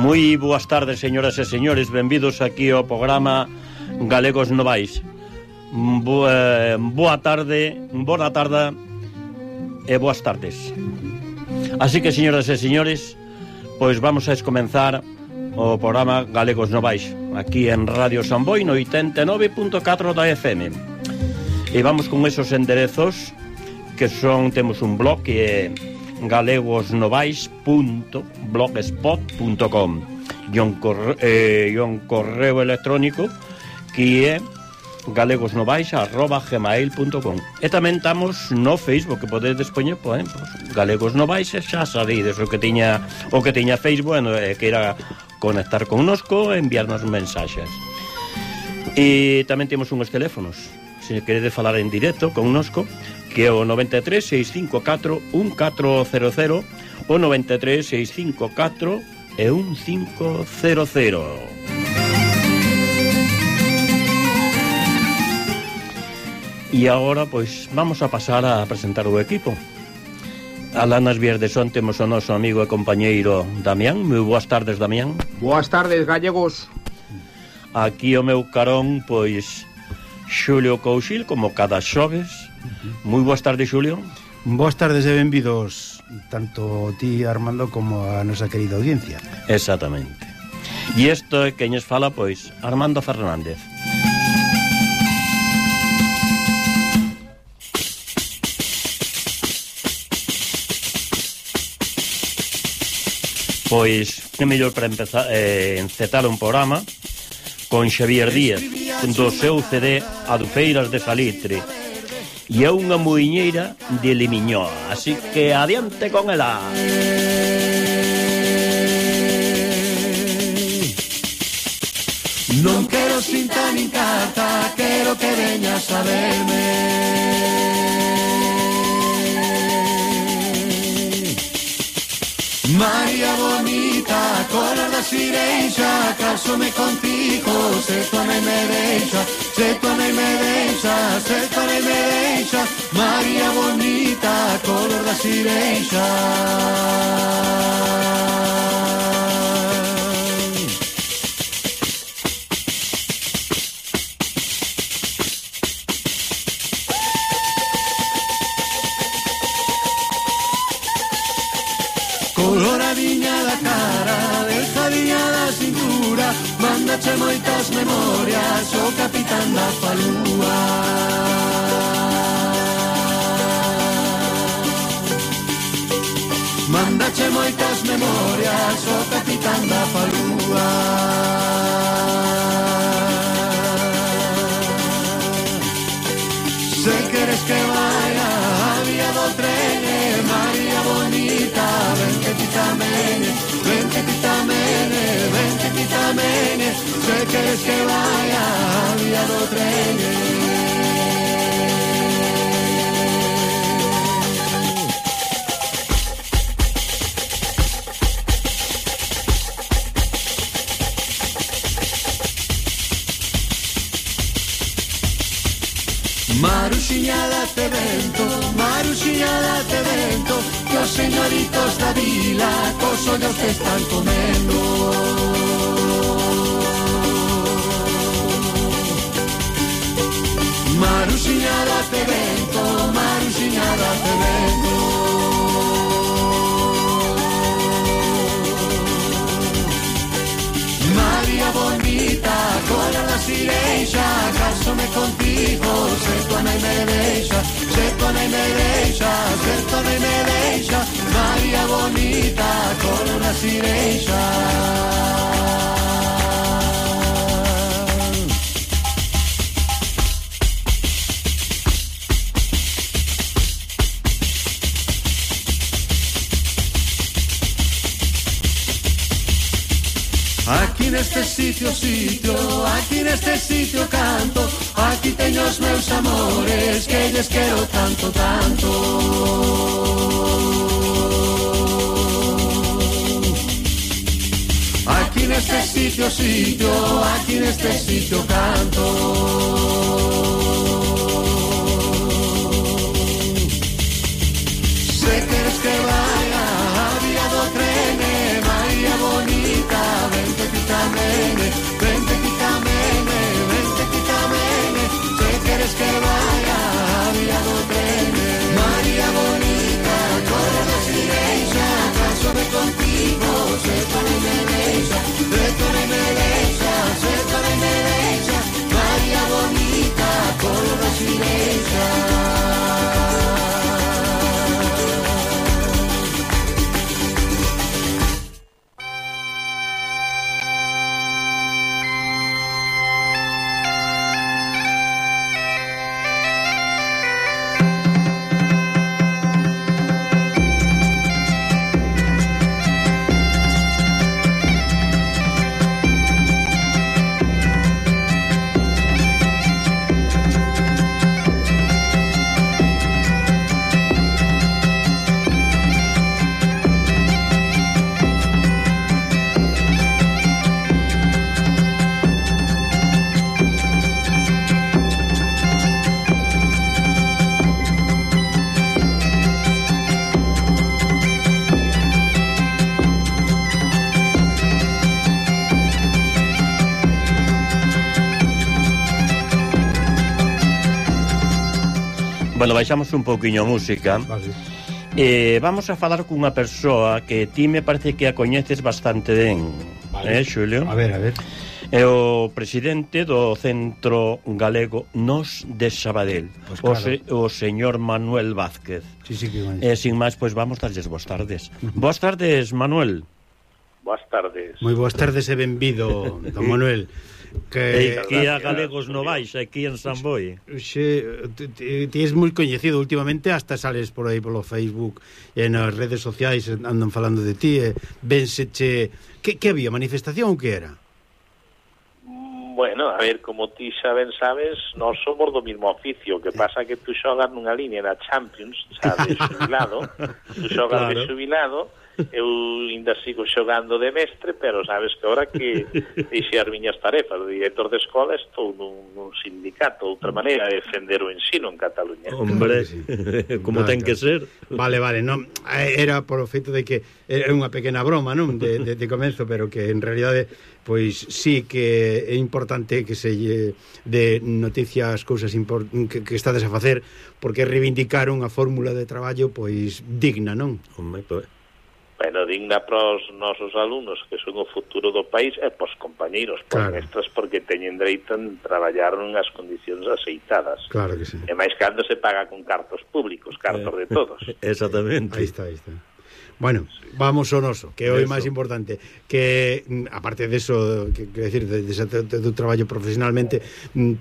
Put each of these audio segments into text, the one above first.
Moi boas tardes, señoras e señores. Benvidos aquí ao programa Galegos Novais. Boa tarde e boas tardes. Así que, señoras e señores, pois vamos a comenzar o programa Galegos Novais aquí en Radio Samboy no 89.4 da FM. E vamos con esos enderezos que son, temos un blog que é galegosnovais.blogspot.com e un correo electrónico que é galegosnovais@gmail.com. E tamén estamos no Facebook, que podedes poñer, pues, Galegos Novais, xa sabedes o que tiña Facebook, que era conectar connosco e enviarnos mensaxes. E tamén temos uns teléfonos, se queredes falar en directo connosco, que é o 93 654 1400, o 93 654 1500. E agora, pois, vamos a pasar a presentar o equipo. Alá nas vías de son temos o noso amigo e compañeiro Damián. Moi boas tardes, Damián. Boas tardes, gallegos. Aquí o meu carón, pois, Xulio Couchil, como cada xoves. Moi boas tardes, Xulio. Boas tardes e benvidos tanto ti, Armando, como a nosa querida audiencia. Exactamente. E isto é queñes fala, pois, Armando Fernández. Pois, que mellor para empezar encetar un programa con Xavier Díaz, do seu CD Adufeiras de Salitre, e é unha muiñeira de Limiñoa, así que adiante con ela. Non quero cinta nin carta, quero que veñas a verme. María bonita, color da sireixa, casome contigo, se tu non me deixa, se tu non me deixa, se tu non me deixa. María bonita, color da sireixa. Coloradiña da cara, delgadiña da cintura, mándache moitas memorias o capitán da falúa. Mándache moitas memorias o capitán da falúa. Se queres que vaya a vía do tren, María bonita, ven que ti tamén, ven que ti tamén, ven que ti tamén. Se queres que vaya a vía do tren. Maruxiña date vento, que os señoritos da vila cos ollos te están comendo. Maruxiña date vento, Maruxiña date vento. María bonita, cola da sireixa, casome contigo, se tu non me deixa, se tu non me deixa, se tu non me deixa. María bonita, cola da sireixa. Aquí neste sitio, aquí neste sitio canto, aquí teño os meus amores, que lles quero tanto, tanto. Aquí neste sitio, aquí neste sitio canto. Se queres que vaya a vía do tren, María bonita, Bueno, baixamos un pouquiño a música. Vale. Vamos a falar cunha persoa que ti me parece que a coñeces bastante ben, Vale. Xulio? A ver. É o presidente do Centro Galego Nos de Sabadell, Pues claro. o señor Manuel Vázquez. Sí, que Sin máis, pois vamos darlles boas tardes. Boas tardes, Manuel. Boas tardes. Moi boas tardes e benvido, don Manuel. Que Aquí a Galegos no Baixa, aquí en San Boi. ti és moi coñecido últimamente, hasta sales por aí polo Facebook e nas redes sociais andan falando de ti, venseche que había, manifestación ou que era? Bueno, a ver, como ti sabes, nós somos do mismo oficio, que pasa que tú xogas nunha línea na Champions, xa de xubilado, tú xogas de xubilado, eu ainda sigo xogando de mestre, pero sabes que ahora que deixe as miñas tarefas de director de escola estou nun sindicato, outra maneira de defender o ensino en Cataluña. Hombre, como ten que ser. Vale, non, era por o feito de que era unha pequena broma, non, de comenzo, pero que en realidade pois sí que é importante que se de noticias cousas que estades a facer, porque reivindicar unha fórmula de traballo pois digna, non? Hombre, pois Bueno, digna para os nosos alumnos, que son o futuro do país, e para os compañeiros, para claro. Mestras, porque teñen dereito a traballar nunhas condicións aceitadas. Claro que sí. E máis cando se paga con cartos públicos, cartos de todos. Exactamente. Aí está. Bueno, vamos ao noso, que é o máis importante, que aparte deso, que decir, de do traballo profesionalmente,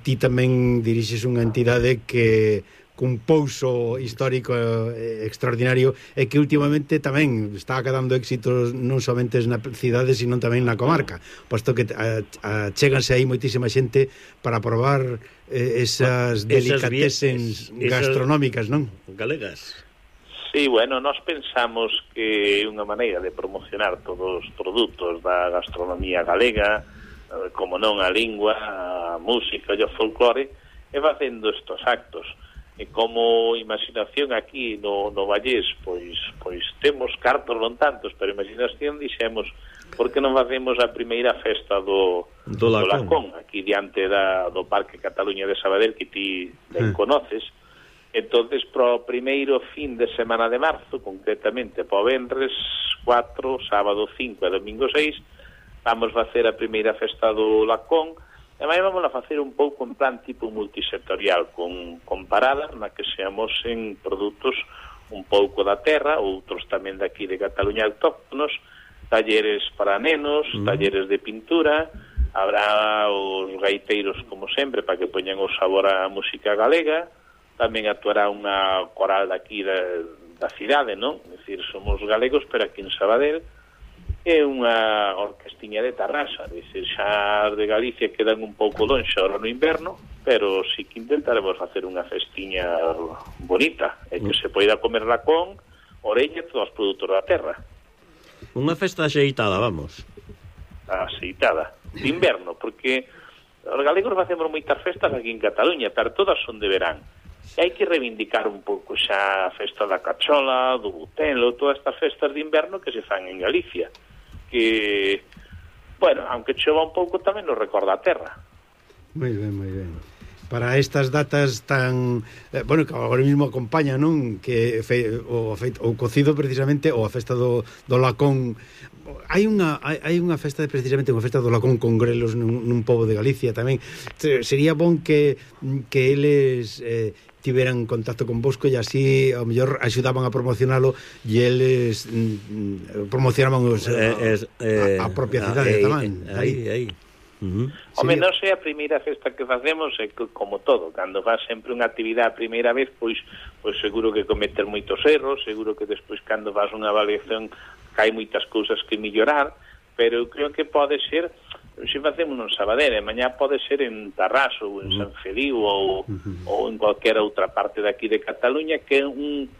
ti tamén dirixes unha entidade que cun pouso histórico extraordinario e que últimamente tamén está acadando éxitos non somente na cidade, sino tamén na comarca, posto que chéganse aí moitísima xente para probar esas delicatesens gastronómicas, non? Galegas. Sí, bueno, nós pensamos que é unha maneira de promocionar todos os produtos da gastronomía galega, como non a lingua, a música e o folclore, e facendo estos actos. E como imaginación aquí no Vallés, pois temos cartos non tantos, pero imaginación dixemos, por que non facemos a primeira festa do Lacón, aquí diante do Parque Cataluña de Sabadell, que ti ben conoces. Entonces, pro primeiro fin de semana de marzo, concretamente po venres 4, sábado 5 e domingo 6, vamos facer a primeira festa do Lacón. E máis vamos a facer un pouco en plan tipo multisectorial, con paradas na que se amosen produtos un pouco da terra, outros tamén daqui de Cataluña autóctonos, talleres para nenos, talleres de pintura, habrá os gaiteiros como sempre para que poñan o sabor á música galega, tamén actuará unha coral daqui da cidade, non? É dicir, somos galegos, pero aquí en Sabadell, é unha orquestiña de Tarrasa, dicir, xa de Galicia quedan un pouco lonxe ahora no inverno, pero sí que intentaremos facer unha festiña bonita, e que se poida comer lacón, orella e todos os produtos da terra. Unha festa axeitada, vamos. Axeitada, de inverno, porque os galegos facemos moitas festas aquí en Cataluña, pero todas son de verán. E hai que reivindicar un pouco xa a festa da cachola, do butelo, todas estas festas de inverno que se fan en Galicia, que, bueno, aunque chova un pouco tamén nos recorda a terra. Moi ben. Para estas datas tan, bueno, que agora mesmo acompaña, non? Que o cocido precisamente, ou a festa do Lacón. Hai unha festa, precisamente unha festa do Lacón con grelos nun pobo de Galicia tamén. Sería bon que eles tiveran contacto con vosco e así ao mellor axudaban a promocionalo e eles promocionaban a propia cidade tamén. Aí. Home, non sei a primeira festa que facemos, é como todo, cando faz sempre unha actividade a primeira vez, pois seguro que cometer moitos erros, seguro que despois cando faz unha avaliación hai moitas cousas que mellorar, pero eu creo que pode ser, se facemos non Sabadell, mañá pode ser en Tarrasa ou en San Feliu ou en cualquier outra parte daqui de Cataluña, que é un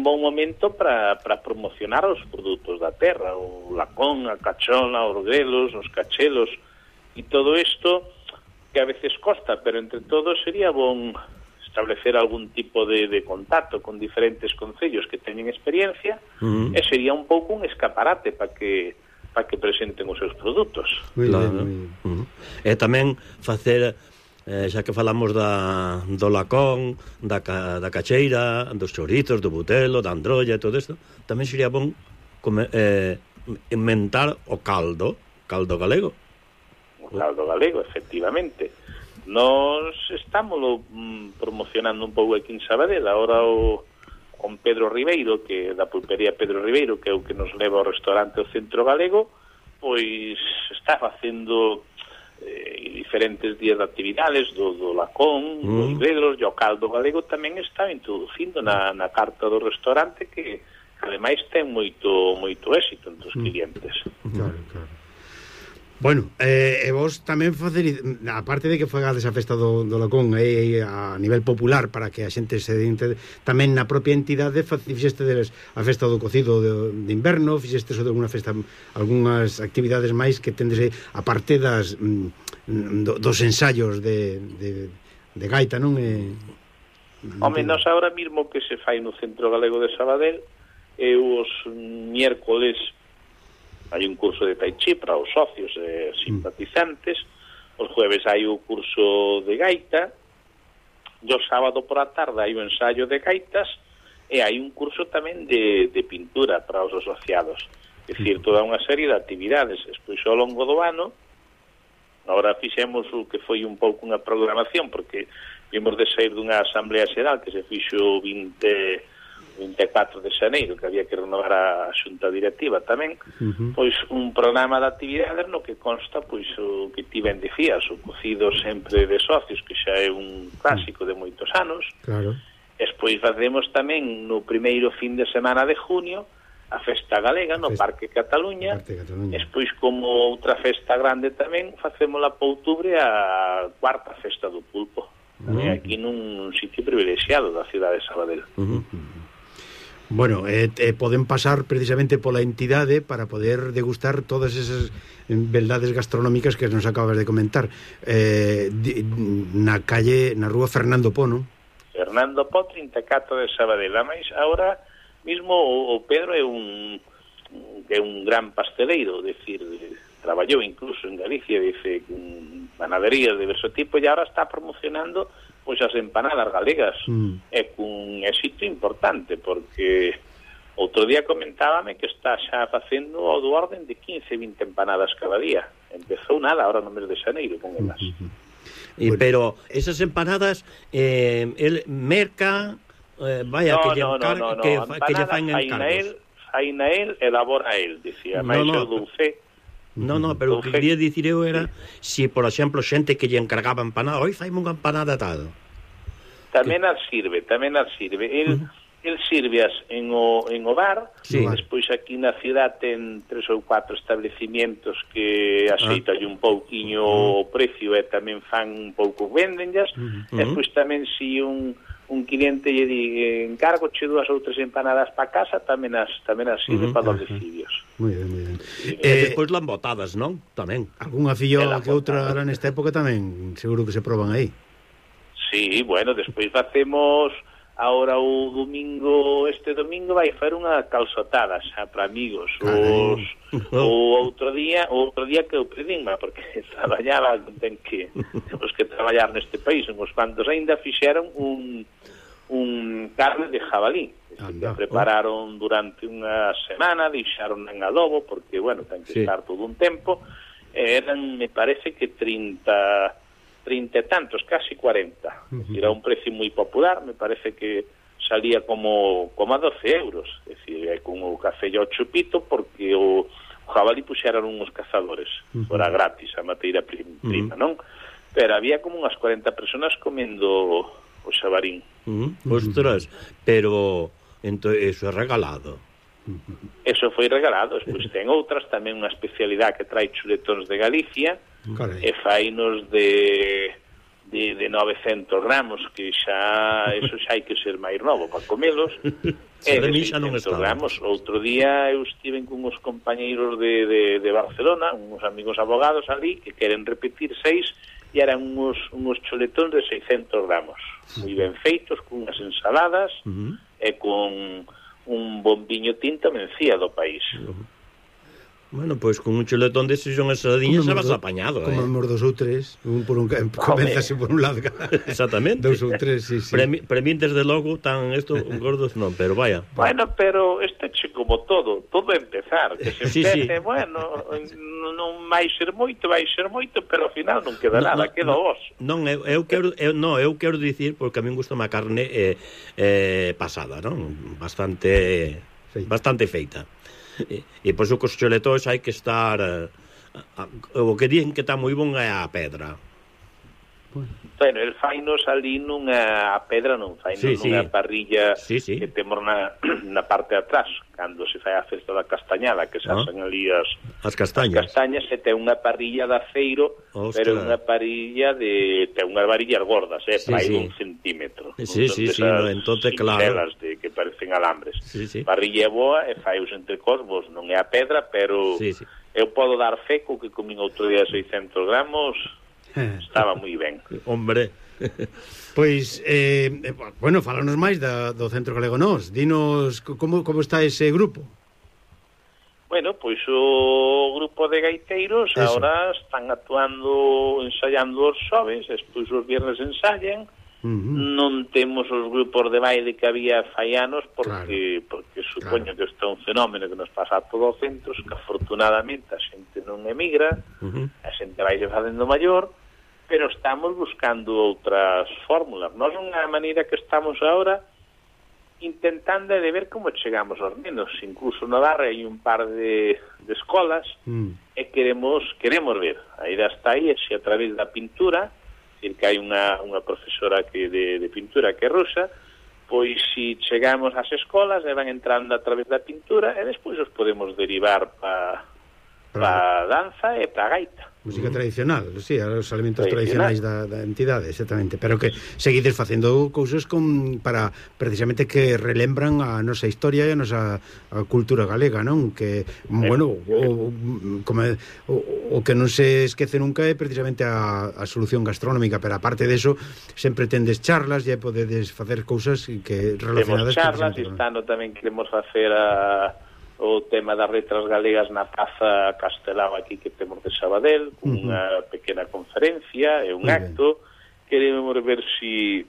bon momento para promocionar os produtos da terra, o lacón, a cachola, os grelos, os cachelos e todo isto que a veces costa, pero entre todos sería bon establecer algún tipo de contacto con diferentes concellos que teñen experiencia e sería un pouco un escaparate para que presenten os seus produtos. Claro. E tamén facer xa que falamos do lacón, da cacheira, dos chorizos, do butelo, da androlla e todo isto, tamén sería bon inventar o caldo galego. O caldo galego, efectivamente. Nos estamos promocionando un pouco aquí en Sabadell. Ahora con Pedro Ribeiro, que da pulpería Pedro Ribeiro, que é o que nos leva ao restaurante o Centro Galego, pois está facendo diferentes días de actividades do lacón, dos gregos, e o caldo galego tamén está introducindo na carta do restaurante, que ademais ten moito éxito entre os clientes. Claro. Bueno, e vos tamén aparte de que fagades a festa do lacón a nivel popular para que a xente se dente, tamén na propia entidade fixestedes a festa do cocido de inverno, fixestes alguna festa, algunhas actividades máis que tendes aparte dos ensaios de gaita, non? Home, nós agora mismo que se fai no Centro Galego de Sabadell, os miércoles hai un curso de Tai Chi para os socios e simpatizantes, os jueves hai o curso de gaita, e o sábado por a tarde hai o ensayo de gaitas, e hai un curso tamén de pintura para os asociados. É dicir, toda unha serie de actividades. Despois, ao longo do ano, agora fixemos o que foi un pouco unha programación, porque vimos de sair dunha asamblea xeral que se fixo 24 de xaneiro, que había que renovar a xunta directiva tamén, pois un programa de actividades no que consta pois o que ti ben dicías, o cocido sempre de socios, que xa é un clásico de moitos anos. Claro. Despois facemos tamén no primeiro fin de semana de junio a festa galega no Parque Cataluña. Despois, como outra festa grande tamén, facémola para outubro a cuarta festa do pulpo, aquí nun sitio privilexiado da cidade de Sabadell. Bueno, poden pasar precisamente pola entidade para poder degustar todas esas beldades gastronómicas que nos acabas de comentar. Na rúa Fernando Po, non? Fernando Po, 34 de Sabadell. Mas agora mismo o Pedro é un gran pasteleiro, decir, traballou incluso en Galicia, dice, panaderías de diverso tipo, e agora está promocionando pois as empanadas galegas, e cun éxito importante, porque outro día comentábame que está xa facendo o do orden de 15-20 empanadas cada día. Empezou nada agora no mes de xaneiro con elas. Pero esas empanadas el merca vaya no, que lle fan encargos. Fai na el, elabora el, dicía, máis o dulce. No, pero o que quería dicir eu era se, por exemplo, xente que lle encargaba empanada, oi, faime unha empanada tal. Tamén as sirve. El sirveas en o bar, despois aquí na cidade ten 3 ou 4 establecimientos que axeitan un pouquiño o precio e tamén fan un pouco vendenllas, despois tamén si un cliente lle di encargo che 2 ou 3 empanadas para casa, tamén as sirve para os decidios. Moi ben. E despois lambotadas, non? Tamén. Algúnha fillo que outra era nesta época tamén, seguro que se proban aí. Sí, bueno, despois facemos ahora este domingo vai fer unha calzotada xa para amigos. O outro día que eu pedinma, porque traballaba, temos que traballar neste país, uns cuantos aínda fixeron un carne de jabalí, que prepararon durante unha semana, deixaron en adobo, porque, bueno, ten que estar todo un tempo, eran, me parece que 30 e tantos, casi 40. Era un precio moi popular, me parece que salía como a 12 euros, é dicir, con o café e o chupito, porque o jabalí puxeran uns cazadores, fora gratis, a materia prima, non? Pero había como unhas 40 personas comendo o xabarín. Ostras, pero eso é regalado. Eso foi regalado. Despois ten outras, tamén unha especialidade que trae chuletóns de Galicia, e fainos de 900 gramos, que eso xa hai que ser máis novo para comelos. E de 600 gramos. Outro día eu estive con uns compañeiros de Barcelona, uns amigos abogados ali, que queren repetir 6, e eran uns chuletóns de 600 gramos, moi ben feitos, con unhas ensaladas e con un bombiño tinto mencía do país. Bueno, pois con un chuletón deses son asadiñas xa vas apañado, Comemos 2 ou 3, comenzase por un lado. Exactamente. 2 ou 3, sí. Para mí, desde logo, tan esto gordos non, pero vaya. Bueno, pero este che como todo é empezar, que se empece, bueno, non vai ser moito, pero ao final non queda nada, queda os. Non, eu quero dicir, porque a min gusta a carne pasada, non? Bastante feita. E por iso cos chuletóns hai que estar o que dicen que está moi bon é a pedra. Bueno, el fainos ali nunha pedra, non fainos nunha parrilla que temos na parte de atrás, cando se fai a festa da castañada, que se asan ali as castañas, e ten unha parrilla de aceiro, pero unha parrilla ten unhas varillas gordas, para ir 1 centímetro. Entonces claro, que parecen alambres. Parrilla é boa e fai os entrecosbos, non é a pedra, pero eu podo dar feco que comín outro día 600 gramos. Estaba moi ben. Hombre. Pois, bueno, fálanos máis do Centro Galego Nós. Dinos como está ese grupo. Bueno, pois o grupo de gaiteiros agora están actuando, ensaiando os xoves, despois os viernes ensayan. Non temos os grupos de baile que había fai anos porque supoño que isto é un fenómeno que nos pasa a todos os centros, que afortunadamente a xente non emigra, a xente vai facendo maior, pero estamos buscando outras fórmulas. Nós unha maneira que estamos agora intentando de ver como chegamos aos nenos. Incluso na Barra hai un par de escolas e queremos ver. A idea está aí, se a través da pintura, decir que hai unha profesora de pintura que é rusa, pois se chegamos ás escolas e van entrando a través da pintura e despois os podemos derivar para danza e para gaita. Música tradicional, sí, os elementos tradicionais da entidade, exactamente, pero que seguides facendo cousas para precisamente que relembran a nosa historia e a nosa cultura galega, non? Que, bueno, o que non se esquece nunca é precisamente a solución gastronómica, pero aparte deso, sempre tendes charlas e podedes facer cousas que relacionadas... Temos charlas e estando tamén queremos facer o tema das letras galegas na Praza Castelao aquí que temos de Sabadell, unha pequena conferencia e un acto. Queremos ver si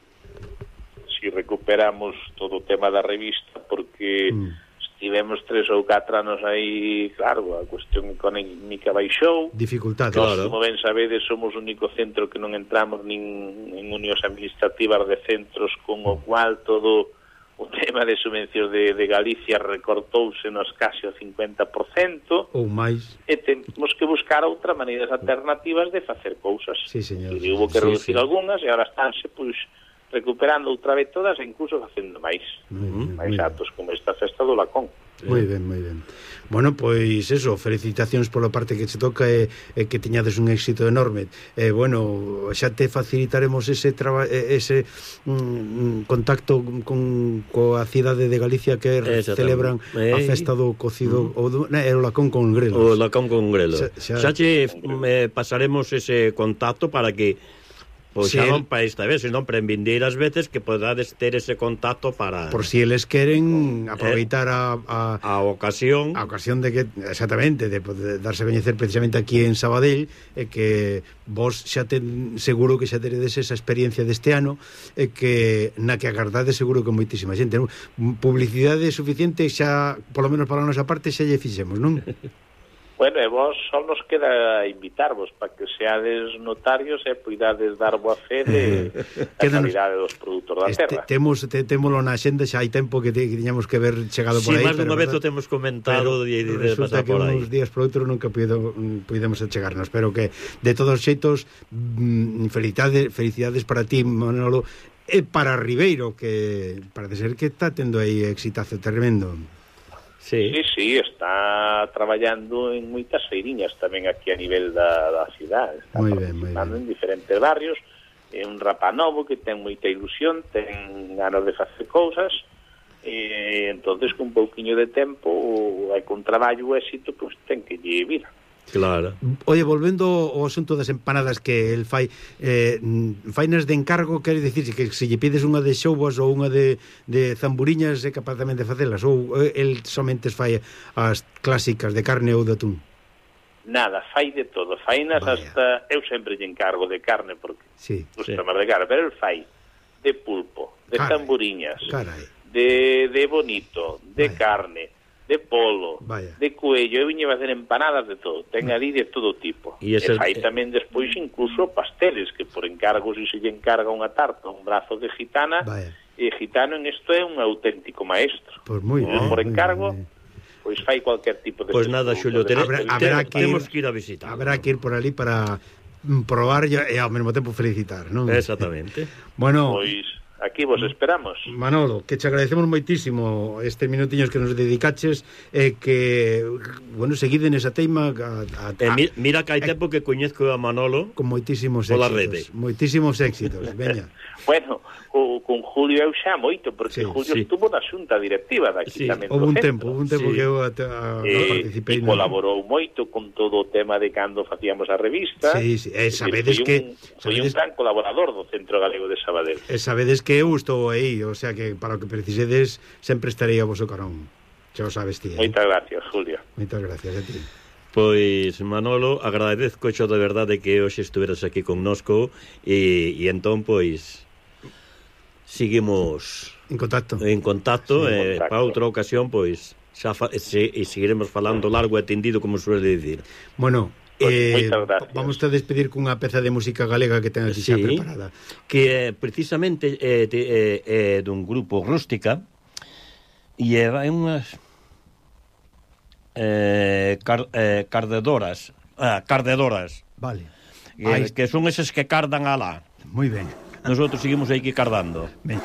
recuperamos todo o tema da revista, porque estivemos 3 ou 4 anos aí, claro, a cuestión económica baixou, dificultades. Como ben sabedes, somos o único centro que non entramos nin en unións administrativas de centros, con o cual todo o tema de subvencións de Galicia recortouse nos casi o 50% ou máis, e temos que buscar outras maneiras alternativas de facer cousas. Sí, señor. E hubo que reducir algunhas e agora estánse pois recuperando outra vez todas e incluso facendo máis atos como esta festa do Lacón. Moi ben. Bueno, pois eso, felicitacións pola parte que se toca e que teñades un éxito enorme. Bueno, xa te facilitaremos ese contacto coa cidade de Galicia que celebran a festa do cocido o Lacón con grelos. O Lacón con grelos. Xa che pasaremos ese contacto para que pois xa non para esta vez, senón para en vindeiras veces que podades ter ese contacto para... Por si eles queren aproveitar a ocasión. A ocasión de que, exactamente, de darse a coñecer precisamente aquí en Sabadell, e que vos xa seguro que xa teredes esa experiencia deste ano, e que na que agardades seguro que moitísima xente. Publicidade suficiente xa, polo menos para a nosa parte, xa lle fixemos, non? Bueno, e vos só nos queda invitarvos para que seades notarios e poidades dar boa fe de calidade dos produtos da terra. Témolo na xenda, xa hai tempo que tiñamos que ver chegado por aí. Sí, máis dunha vez o temos comentado de pasar por aí. Resulta que uns días por outro nunca podemos chegarnos, pero que de todos os xeitos felicidades para ti, Manolo, e para Ribeiro, que parece ser que está tendo aí exitazo tremendo. Sí, está traballando en moitas feiriñas tamén aquí a nivel da cidade. Está participando en diferentes barrios. É un rapaz novo que ten moita ilusión, ten ganas de facer cousas, e entonces con un pouquiño de tempo hai con traballo o éxito, pois ten que lle vir. Claro. Oye, volvendo ao asunto das empanadas que el fai, fainas de encargo, quere dicir que se lle pides unha de xoubas ou unha de zamburiñas é capaz tamén de facelas, ou el somente fai as clásicas de carne ou de atún? nada, fai de todo, fainas hasta, eu sempre lle encargo de carne porque gusta máis de carne, pero el fai de pulpo, de tamburiñas, de bonito, de carne, de polo, de cuello, eu viñe a facer empanadas de todo, ten ali de todo tipo. E fai tamén despois incluso pasteles, que por encargo, se lle encarga unha tarta, un brazo de gitana, e gitano en isto é un auténtico maestro. Pois moi ben. Por encargo, pois fai cualquier tipo de... Pois nada, Xulio, temos que ir a visitar. Habrá que ir por ali para probar e ao mesmo tempo felicitar, non? Exactamente. Bueno... Pois... aquí vos esperamos. Manolo, que te agradecemos moitísimo estes minutiños que nos dedicaches e que, bueno, seguide nesa teima mira que hai tempo que coñezco a Manolo con moitísimos éxitos. Moitísimos éxitos, veña. Bueno, con Julio eu xa moito, porque Julio estuvo na xunta directiva daqui tamén. Houve un tempo que eu participei. E colaborou moito con todo o tema de cando facíamos a revista. Sabedes que... Foi un gran colaborador do Centro Galego de Sabadell. Sabedes que eu estou aí, o sea que para o que precisedes sempre estarei a voso carón. Xa o sabes ti. Moitas gracias, Julio. Moitas gracias a ti. Pois, Manolo, agradezco xo de verdade que hoxe estuveras aquí connosco e entón, pois, seguimos en contacto para outra ocasión, pois, xa seguiremos falando largo e tendido, como suele dicir. Bueno, vamos a despedir cunha peza de música galega que ten aquí xa preparada, que precisamente é dun grupo Rústica e é unhas cardedoras, vale, que son eses que cardan alá. Moi ben. Nosotros seguimos aí que cardando. Ben.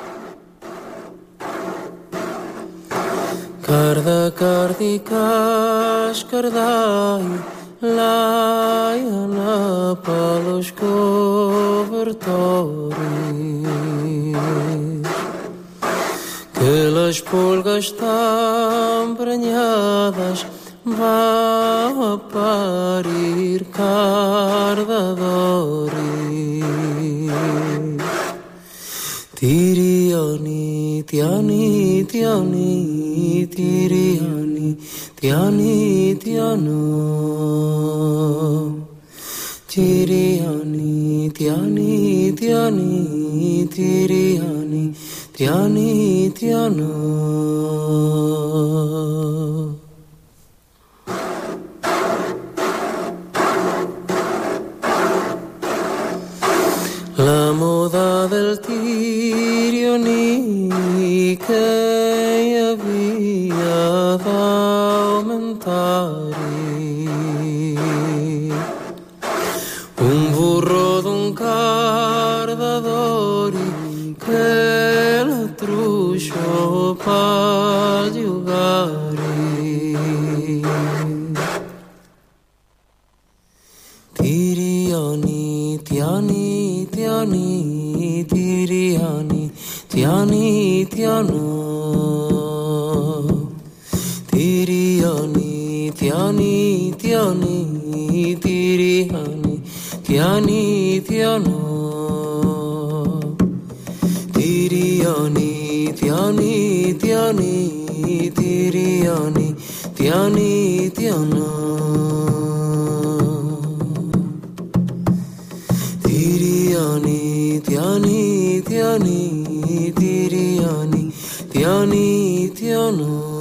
Carda, cardicas, cardai, laiana palos cobertores, que las pulgas estão prenhadas, vá a parir cardadores. Tiriani, tiani, tiani, tiriani, tiani, tiano. Tiriani, tiani, tiani, tiriani, tiani, tiano. La moda del tirioni che había da aumentare, un burro d'un cardadori che la truscio pa giugare. Tirioni, tiani, tiani, tiriani, tiani, tiano. Tiriani, tiani, tiani, tiriani, tiani, tiano. Tiriani, tiani, tiani, tiriani, tiani, tiano. Tiriani, tiani, tiani, tiriani, tiani, tiano.